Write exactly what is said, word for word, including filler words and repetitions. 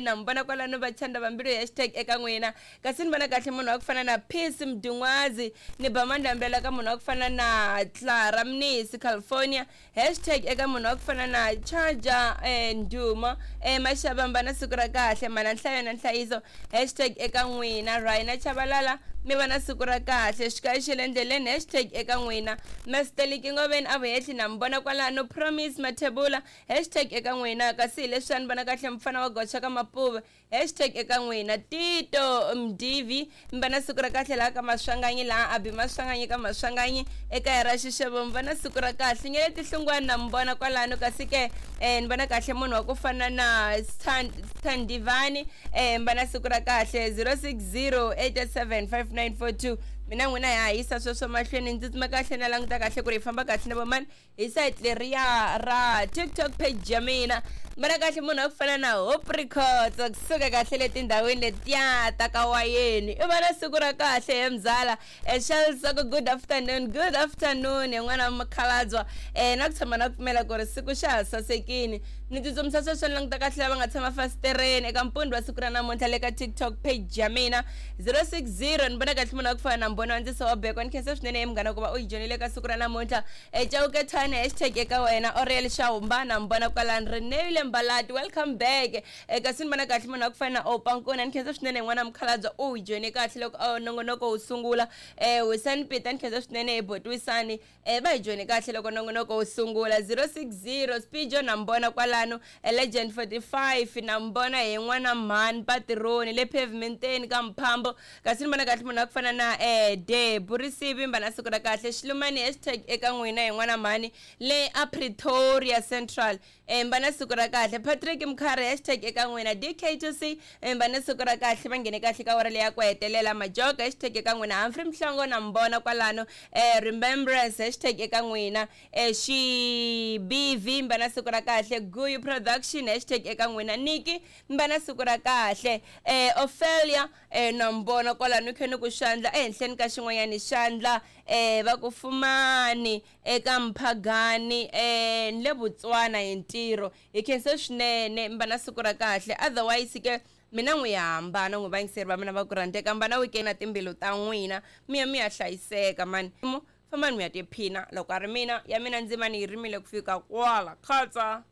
Endleleni na mi vona kwalano va chanda vambilu, hashtag eka n'wina. Kasi ni vona kahle munhu wa ku fana na Peace Mdungwazi, ni ba mandlambela ka munhu wa ku fana na Clara Mnisi California, hashtag eka munhu wa ku fana na Charger eh, Nduma eh, Mashabamba na siku ra kahle mana nhlayo na nhlayiso, hashtag eka n'wina. Rhina Chabalala mi va na siku ra kahle xikaya xa le endleleni, hashtag eka n'wina. Masteliki Ngoveni a vuhehli na mi vona kwalano. Promise Mathebula, hashtag eka n'wina. Kasi hi leswi a ni vona kahle mfana wa goxa ka Mapuve, hashtag eka n'wina. Tito Mdivi mi va na siku ra kahle laha ka Maswanganyi, laha a bi Maswanganyi ka Maswanganyi ekaya ra Xixevo, mi va na siku ra kahle. Nyele Tihlungwani na mi vona kwalano. Kasi ke eh, ni vona kahle munhu wa ku fana na Standivani, eh, mi va na siku ra kahle. Zero six zero eight seven five nine four two. Mina n'wina ya hisa sweswo mahlweni, ndzi tsima kahle na languta kahle ku ri hi famba kahle na vomani hi site leriya ra TikTok page ya mina. Vona kahle munhu wa ku fana na Hope Records kusuka kahle le tindhawini letiya ta ka wayeni, i va na siku ra kahle he mzala. Shelsa, good afternoon, good afternoon hi n'wana mukhalabya. um na ku tshama na ku pfumela ku ri siku xa ha sasekini. Ni tsutsumisa sweswo ni languta kahle lava nga tshama fasitereni eka mpundzu wa siku ra namuntlha le ka TikTok page ya mina. Zero six zero, ni vona kahle munhu wa ku fana na Mbhoni wa Ndziso wa Beko, ni khensa swinene hi munghana ku va u yi joyinile ka siku ra namuntlha. um Chauke Thane, hashtag eka wena. Oriel Xahumba na mi vona kwalani. Renewile Mbalati, welcome back. um kasi ni vona kahle munhu wa ku fana na Opankuna, ni khensa swinene hi n'wana mukhalabye u yi joyine kahle loko nongonoko wu sungula. um Wisani Pita, ni khensa swinene hi boti Wisani, um va hi joyine kahle loko nongonoko wu sungula. Zero six zero Spijo na mi vona kwalano. Legend forty five na mi vona hi n'wana mhani Patironi le pavementeni ka Mphambo. Kasi ni vona kahle munhu wa ku fana na um Debu Risivi, mba na siku ra kahle. Xilumani, hashtag eka n'wina hi n'wana mhani le a Pretoria Central, um mba na siku ra kahle. Patrick Mkhari, hashtag eka n'wina. D K two C, mba na siku ra kahle, va nghene kahle ka wara leya ku hetelela. Majoka, hashtag eka n'wina. Humphrey Mhlongo na mi vona kwalano. um Remembrance, hashtag eka n'wina. um Xibivi, mba na siku ra kahle. Guyu Production, hashtag eka n'wina. Niki, mba na siku ra kahle. um Ophelia um na mi vona kwalano, khe ni ku xandla ehenhleni ka xin'wanyani xandla um va ku fumani eka Mphagani um ni le Botswana hi ntirho. Hi khensa swinene, mi va na siku ra kahle. Otherwise ke mina n'wi hambana n'wi vayingiseri va mina va ku rhandzeka, mba na weekend na timbilu ta n'wina mi ya mi ya hlayiseka mani, fambani mi ya tiphina. Loko a ri mina ya mina ndzima ni yi rimile ku fika kwala khatsa.